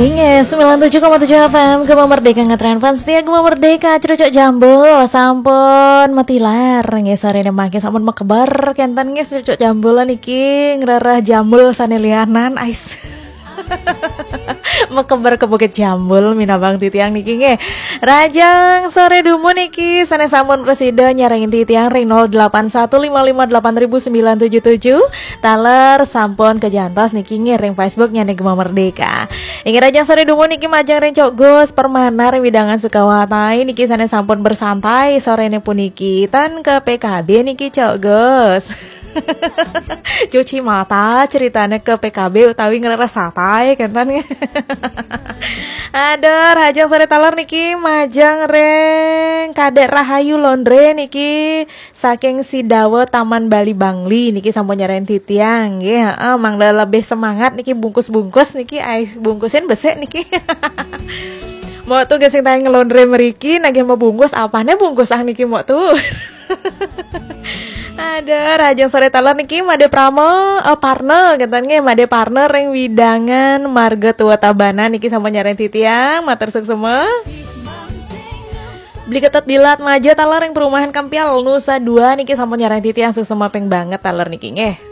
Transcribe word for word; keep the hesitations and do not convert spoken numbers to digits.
Inggih, sembilan tujuh koma tujuh F M Gema Merdeka, ngetren fans setia Gema Merdeka, Crucuk Jambul sampun matilar nggih, sore ini mangkin sampun mekeber kenten nggih, Crucuk Jambul niki ngrereh jambul sane lianan, ais. Mekeber ke Bukit Jambul minabang titiang niki nggih. Rajang sore dumun niki sane sampun presida nyarengin titiang ring nol delapan satu lima lima delapan ribu sembilan tujuh tujuh. Taler sampun kejantos niki nggih ring Facebook nyane Gema Merdeka. Inggih, rajang sore dumun niki majeng ring Cok Gus Permana ring wewidangan Sukawati niki sane sampun bersantai sorene puniki. Tan ke P K B niki, Cok Gus. Cuci mata ceritane ke P K B utawi ngrereh satai kenten. Aduh, rajang sore taler niki majeng ring Kadek Rahayu Laundry niki saking Sidawa Taman Bali Bangli niki sampun nyarengin titiang nggih. Heeh, mangda lebih semangat niki bungkus-bungkus niki, ai bungkusin besik niki. Mok tu gesing tayang ngelondre meriki nagih mau bungkus, apane bungkus ah niki mok tu. Aduh, rajang sore taler niki Made Prama, eh, Parna kenten nggih, Made Parna ring wewidangan Marga Tua Tabanan niki sampun nyarengin titiang, matur suksma. Beli Ketet Dilat Maja taler ring perumahan Kampial Nusa Dua niki sampun nyarengin titiang, suksma ping banget taler niki nggih.